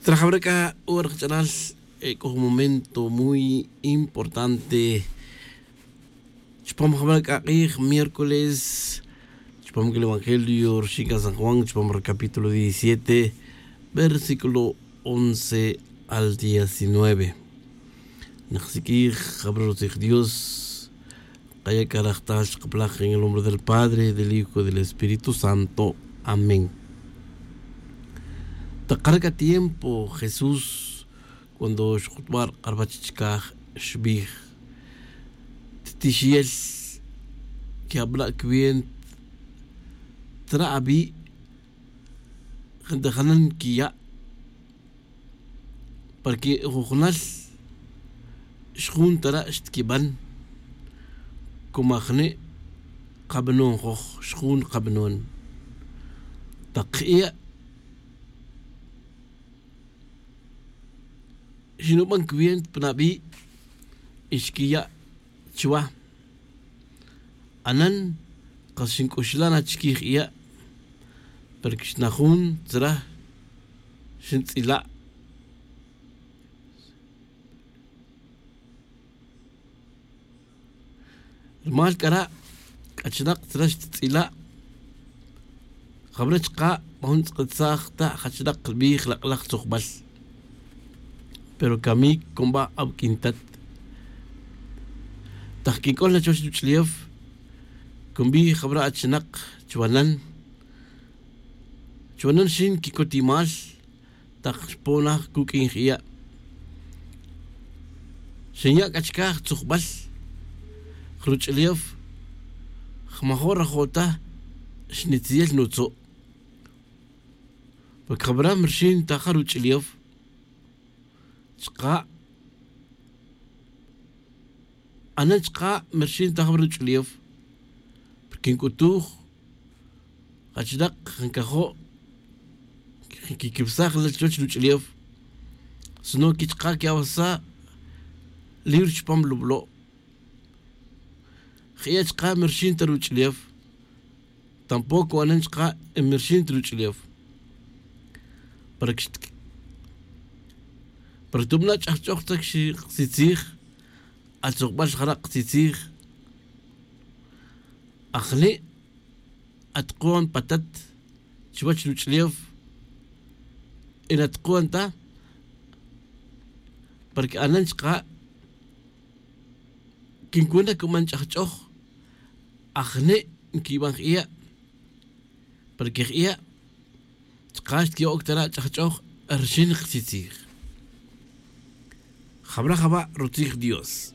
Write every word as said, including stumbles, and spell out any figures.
Trajabra c'a hora kach'alal, c'o jun momento muy importante chupam jabra c'a k'ij miércoles. Chupam c'a el evangelio rixin c'a san juan chupam ri capítulo diecisiete, versículo once al diecinueve. Nak siq'uij jabra rutzij dios. Kaya' c'a rajtal chkapalaj en el nombre del padre, del hijo, del espíritu santo. Amén. Takara c'a tiempo jesús cuando xkutba' ri k'arbach chicaj, xbij, titixiyel que'abla' cuenta tra' avi', gente janan quiya'. Porque jujunal xjun tara' xtiquiban. Como ajni' kabanon joj xjun kabanon. Tak kiya' xinuban cuenta pan avi' y xquiya' chuwa. Anan kas xinc'uxla' na chiquij iya'. Pero quixnajun tzra xintz'ila'. Rumal c'ara' c'achinak tzra xtitz'ila'. Jabra' chka' ma jun tz'akitzaj ta jachnak rubij lak'laj tzujbal. Pero camic cunba' awuq'uin tat. Tak quinc'ol na chuwech ruch'ulef cunbij jabra' achinak chuwanan. Chuwanan xin quicutimal tak xponaj cuq'uin jiya'. Xinya' c'a chicaj tzujbal ruch'ulef. Jmajo' rajo' ta xnitziyel nutzu'. Porque jabra' mi rixin ta ja ruch'ulef. Chka' anan chka' mi rixin ta jabra' ruch'ulef. Porque quinc'utuj jachinak jancajo' quiquibsaj la chuwech ruch'ulef. Sino que chka' quiawesaj libro chupam lublo'. Jiya' chka' mi rixin ta ruch'ulef. Tampoco anan chka' mi rixin ta ruch'ulef. Para que para que tubana' ch'ajch'oj ta xiqtzitzij. Atzujbal jara' qtzitzij. Ajni' atkuan patat chuwech ruch'ulef. Y natkuan ta para que anan chka' quincuna cuman ch'ajch'oj. Ajni' nquiban jiya'. Para que jiya' chka' xtquiya'oc tara' ch'ajch'oj rixin ktzizij. Jabra' jaba' rutzij dios.